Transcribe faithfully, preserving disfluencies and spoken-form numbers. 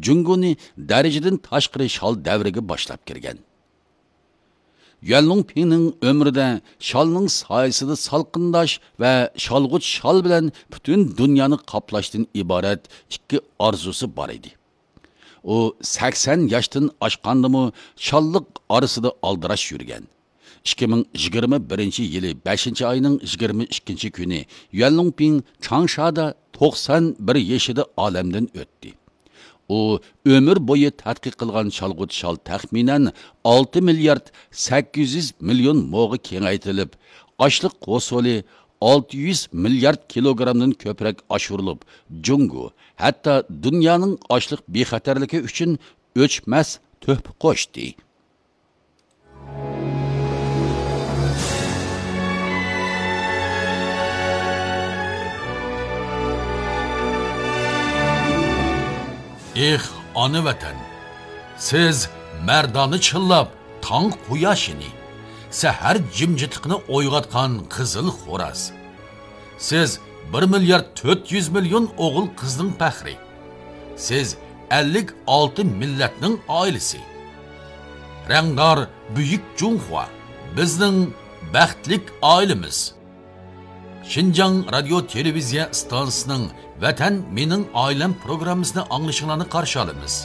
جۇڭگونى دەرىجىدىن تاشقىرى شال دەۋرىگە باشلاپ كىرگەن. يۈەنلۇڭپىڭنىڭ ئۆمرىدە شالنىڭ سايىسىدا سالقىنداش ۋە شالغۇت شال بىلەن پۈتۈن دۇنيانى قاپلاشتىن ئىبارەت ئىككى ئارزۇسى بار ئىدى. ئۇ سەكسەن ياشتىن ئاشقاندىمۇ شاللىق ئارىسىدا ئالدىراش يۈرگەن. ئىككى مىڭ يىگىرمە بىرىنچى يىلى بەشىنچى ئاينىڭ يىگىرمە ئىككىنچى كۈنى يۈەنلۇڭپىڭ چاڭشادا توقسان بىر يېشىدا ئالەمدىن ئۆتتى. ئۇ ئۆمۈر بويى تەتقىق قىلغان شالغۇت شال تەخمىنەن ئالتە مىليارد سەككىز يۈز مىليون موغا كېڭەيتىلىپ، ئاشلىق ھوسۇلى ئالتە يۈز مىليارد كىلوگرامدىن كۆپرەك ئاشۇرۇلۇپ، جۇڭگو ھەتتا دۇنيانىڭ ئاشلىق بىخەتەرلىكى ئۈچۈن ئۆچمەس تۆھپە قوشتى. ئېھ، ئانا ۋەتەن! سىز مەردانە چىللاپ تاڭ قۇياشىنى، سەھەر جىمجىتلىقىنى ئويغاتقان قىزىل خوراز. سىز بىر مىليارد تۆت يۈز مىليون ئوغۇل قىزنىڭ پەخرى. سىز ئەللىك ئالتە مىللەتنىڭ ئائىلىسى. رەڭدار بۈيۈك جۇڭخۇا، بىزنىڭ بەختلىك ئائىلىمىز. شىنجاڭ رادىيو تېلېۋىزىيە ئىستانسىسىنىڭ ۋەتەن مېنىڭ ئائىلەم پروگراممىسىنى ئاڭلىشىڭلارنى قارشى ئالىمىز.